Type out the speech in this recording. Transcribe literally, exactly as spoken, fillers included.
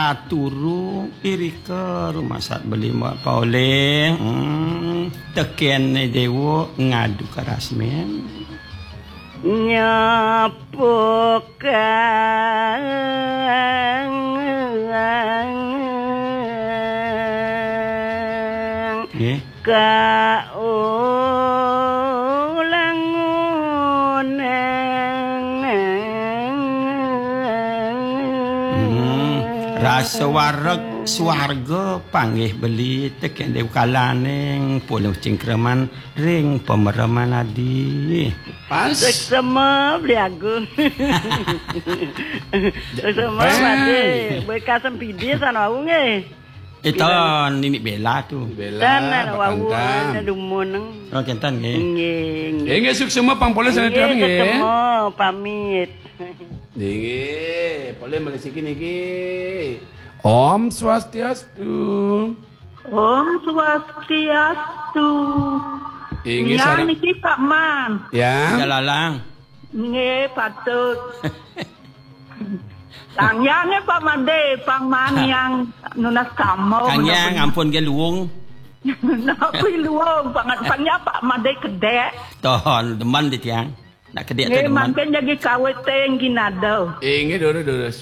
Aturu irika rumasat beli Mbok Paulih. Hmm, tekén déwa ngadu ka rasmén. Nyepukang Nggih. Kaulangun. Hmm, rasa wareg swarga panggih beli tekén déwa kalaning puluh cingkraman ring pamereman adi. Pas. Seksema beli agung. Seksema. Badi, bekas sempidi san wau nggih. Éh, ton, nini Bella tu. Bella, tan, wau, papantan. Ada dumun. Oh, kénten nggih. Nggih, nggih. Nggih, suksma pang polih sanget nggih, nggih. Suksma, pamit. Nggih, polih malih siki niki. Om Swastiastu. Om Swastiastu. Inggih, yang sareng niki Pak Man. Ya. Jalalang. Nggih, patut. Tang yang nggih Pak Made, pang Man yang nunas kamo. Kang Yang, ampun nggih luung. Napi luung, pang, pang ya Pak Made kedék. Ton, demen di tiang. Nak kedék tu nggih, demen. Mangkin jagi kawit téh ginado. Inggih, durus, durus.